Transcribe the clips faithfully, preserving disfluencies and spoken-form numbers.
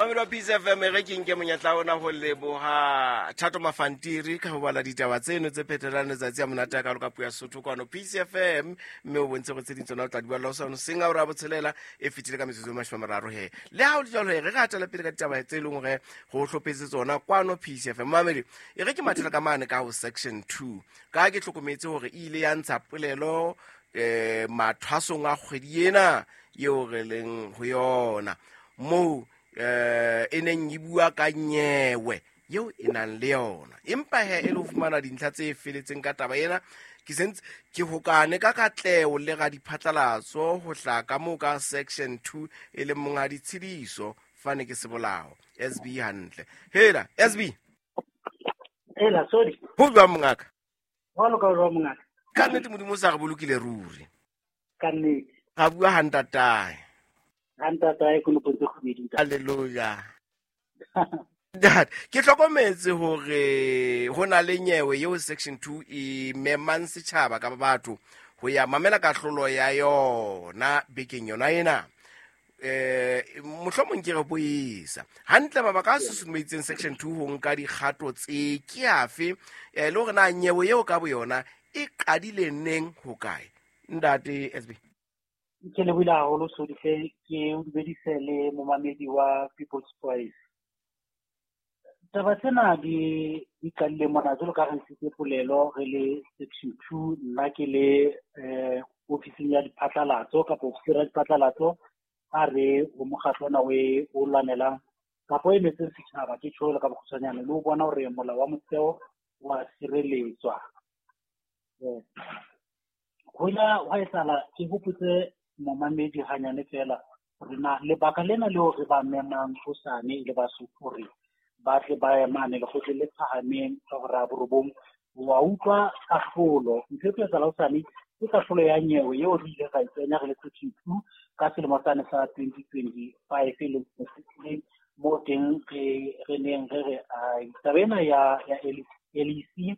Mamedi wa Peace F M, re ke nke monyetla ona ho leboha Thato Mafantiri ka ho bala ditaba tseno tse phethelang letsatsi a monate a kalo ka puo ya Sesotho kwano Peace F M, mme o bontshe gore tse ding tsona o tla di balla hosane hoseng a ora botshelela e fetile ka metsotso e mashome a mararo. He, le ha o le jwalo, he, re ka hatela pele ka ditaba tse e leng hore go hlophetse tsona kwano Peace F M. Mamedi, e re ke mathela ka mane ka ho Section two, ka ke hlokometse hore e ile ya ntsha polelo eh mathwasong a kgwedi ena eo re leng ho yona, moo eh e neng e bua ka nyewe eo e nang le yona. Empa he, e le ho fumana dintlha tse feletseng ka taba ena, ke sentse ke hokane ka katleho le ga diphatlalatso ho hlaha ka moo ka Section two, e leng Monghadi Tshediso Fane ke Sebolao S B. Hantle, hela S B. Ela, sorry. Ho jwang, mongaka? Jwalo ka jwang, mongaka? Ka nnete Modimo o sa re bolokile ruri. Ka nnete. Ga bua hantatae. Ha ntatae konopong tse kgobedi, ntate. Halleluja. Ntate, ke hlokometse hore ho na le nyewe eo Section two e memang setjhaba kapa batho ho ya mamela kahlolo ya yona bekeng yona ena. eh mohlomong ke re boisa hantle, mabaka a susumeditseng Section two ho nka dikgato tse ke afe, eh le hore na nyewe eo ka boyona e qadile neng, ho kae, ntate S B? Ke lebohile haholo, Sodihle. Ke o dumedise le momamedi wa People's Voice. Taba tsena di di qadile mona jwalo ka re ntshitse polelo re le Section two, nna ke le eh ofising ya diphatlalatso kapa ofisiri ya diphatlalatso a re ho mokgatlo ona o e o lwanelang kapa o emetseng setjhaba, ke tjho ka bokgutshwanyane, le ho bona hore molao wa motheo wa sireletswa. Eh, ho ila hwa etsahala, ke hopotse momamedi hanyane feela hore na lebaka lena leo re ba memang hosane e le Basotho hore ba tle ba ye mane lekgotleng le phahameng ka hora ya borobong wa utlwa kahlolo. Ntho e tlo etsahala hosane ke kahlolo ya nyewe eo re ile ra e kenya re le Section two ka selemo sane sa twenty twenty-five, e leng se fetileng, moo teng re re neng re re ai, taba ena ya ya L E C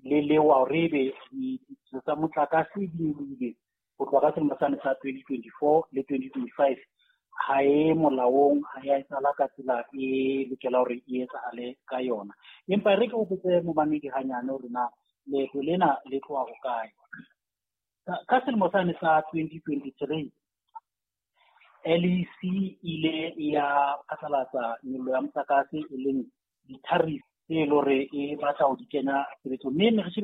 le lewa hore ebe ditso tsa motlakase di nyolohile ho tloha ka selemo sane sa twenty twenty-four le twenty twenty-five ha e molaong, ha ya etsahala ka tsela e lokela hore e etsahale ka yona. Empa re ke hopotse momamedi hanyane hore na leeto lena le tloha hokae. Ka ka selemo sane sa twenty twenty-three, L E C ile ya phatlalatsa nyollo ya motlakase, e leng di-tariff tse e le hore e batla ho di kenya tshebetsong, mme ne re shebile.